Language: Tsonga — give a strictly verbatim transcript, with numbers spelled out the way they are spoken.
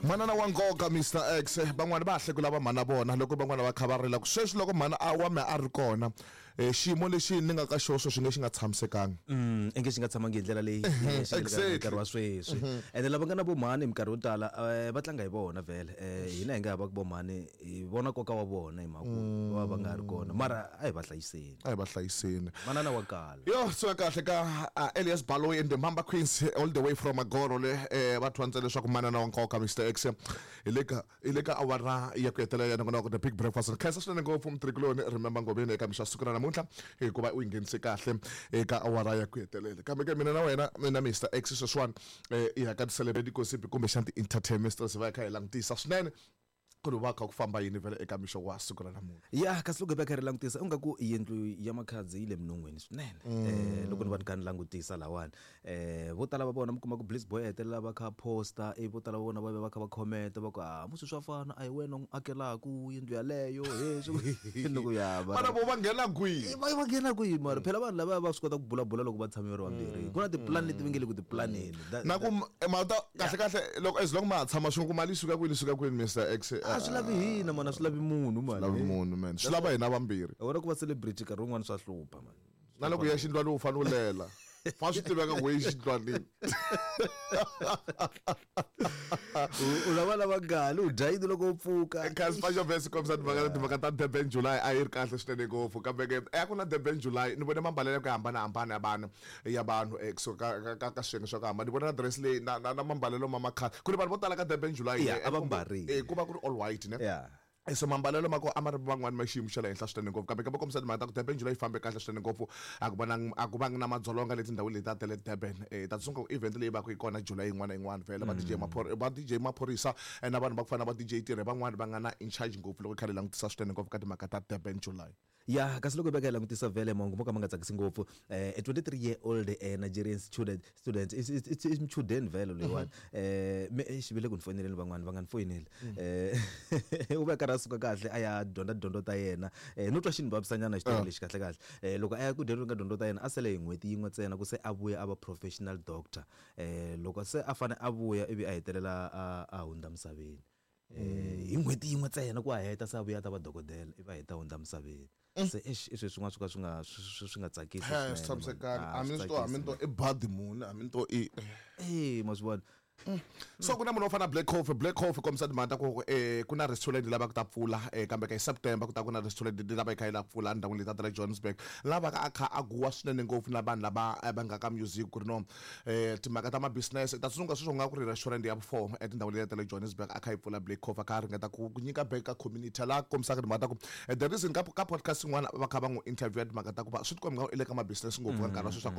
Manana wa nkoka Mister X, van'wani va ha hlekula va mhana vona loko van'wana va kha va rila ku sweswi loko mhana a wa me a ri kona, eh, xiyimo lexi ni nga ka xona sweswi nge xi nga tshamisekanga. Mm, inge xi nga tshamangi hi ndlela leyi xi nga le ka Exactly. nkarhi wa sweswi. Ene lava nga na vomhani hi minkarhi yo tala, eh, va tlanga hi vona vhele. Eh, hina hi nga hava ku vomhani hi vona nkoka wa vona hi mhaka ku va va nga ri kona, mara a hi va hlayiseni. A hi va hlayiseni. Manana wa kala. Yo, so kahle ka uh, Elias Baloyi and the Mamba Queens all the way from Agoro le, eh, va thwantse leswaku manana wa nkoka Mister X hi le ka hi le ka awara ya ku hetelela ya nongonoko The Big Breakfast. Khensa swinene ngopfu mutirhikuloni Remember Ngobeni eka mixo siku ra namuntlha hikuva u yi nghenise kahle eka awara ya ku hetelela. Kambe ke mina na wena mina Mister X sweswiwani, eh, hi ya ka ti-celebrity gossip kumbexana ti-entertainment stories, va kha hi langutisa swinene ku ri va kha ku famba yini vhele eka mixo wa siku ra namuntlha. Ya, kasi loko hi va kha ri langutisa u nga ku yindlu ya Makhadzi yi le minon'weni swinene. Eh, loko ni va ni kha ni langutisa lawani, eh, vo tala va vona mi kuma ku Bliss Boy hetelela va kha posta, ivi vo tala va vona va va kha va comment va ku, ah, musi swa fana a hi wena u n'wi akelaku yindlu yaleyo, he swi loko ya va Vana vo va nghena kwihi? Va va nghena kwihi? Mara phela vanhu lava va swi kota ku bulabula loko va tshame va ri vambirhi, ku na tipulani leti va nge le ku tipulaneni. Na ku mata kahle kahle loko as long ma ha tshama swin'we ku mali yi suka kwini, suka kwini Mister X? A swi lavi hina mana, swi lavi munhu mani. Lavi munhu man, swi lava hina vambirhi. Wena ku va celebrity nkarhi wun'wani swa hlupha man. Na loko ya xindlwani u fanele u lela, fa swi tiveka ku yi xindlwanini. U lava lava gali u dya yini loko u pfuka? Kasi fa xo vese kombisa timhaka timhaka ta Durban July a yi ri kahle swinene ngopfu, kambe ke a ku na Durban July ni vone mambalelo ya ku hambanahambana ya vanhu ya vanhu eh, kusuka ka ka ka swiyenge swa ku hambana. Ni vone na dress leyi na na na mambalelo ma makhale ku ri vanhu vo tala ka Durban July, Yeah, a va mbarile. eh, ku va ku ri all white ne. Yeah. So mambalelo ma ko a ma ri van'wani ma xiyimo xa le henhla swinene ngopfu, kambe ka va kombisa timhaka ta ku Durban July yi fambe kahle swinene ngopfu, a ku vonangi a ku vangi na madzolonga leti tindhawini leti ta le Durban. Eh, ta tsunga ku event leyi va ku yi kona July yin'wana na yin'wana vhele va D J Maphor va D J Maphorisa, eh, na vanhu va ku fana na va D J Tirhe van'wani va nga na in charge ngopfu loko kha hi langutisa swinene ngopfu ka timhaka ta Durban July. Ya, kasi loko hi veka hi langutisa vhele mahungu mo ka ma nga tsakisi ngopfu, eh, a twenty-three year old eh, Nigerian student student i i muchudeni vhele loyiwani, eh me xi vile ku ni foyineleni van'wani va nga ni foyineli, eh u va karhi a suka kahle a ya dyondza dyondzo ta yena, eh no twa xi ni vavisanyana xitori lexi kahle kahle. Eh loko a ya ku dyondzeni ka dyondzo ta yena a sele hi n'hweti yin'we ntsena ku se a vuya a va professional doctor, eh loko se a fane a vuya ivi a hetelela a a hundza misaveni, eh hi n'hweti yin'we ntsena ku a heta se a vuya a ta va dokodela ivi a heta hundza misaveni. Se eish, i swilo swin'wana swo ka swi nga swi swi nga tsakisi swinene, swi tshamisekanga. A mi to a mi to i badi muni, a mi to i eh ma swi vona. So ku na munhu wo fana na Black Coffee. Black Coffee kombisa timhaka ta ku eh ku na restaurant lava ku ta pfula, eh kambe ka hi September ku ta ku na restaurant lava yi kha yi lava ku pfula endhawini leti ta le Johannesburg, lava ka a kha a guwa swinene ngopfu na vanhu lava va nga ka music ku ri no eh timhaka ta ma business ta tsundzuka sweswo nga ku ri restaurant ya four etindhawini leti ta le Johannesburg a kha yi pfula. Black Coffee a kha a ringeta ku nyika back ka community laha kombisaka timhaka ta ku the reason ka ka podcast yin'wana va kha va n'wi interview timhaka ta ku va swi tikomba nga i le ka ma business ngopfu ka nkarhi wa sweswi a kombisa.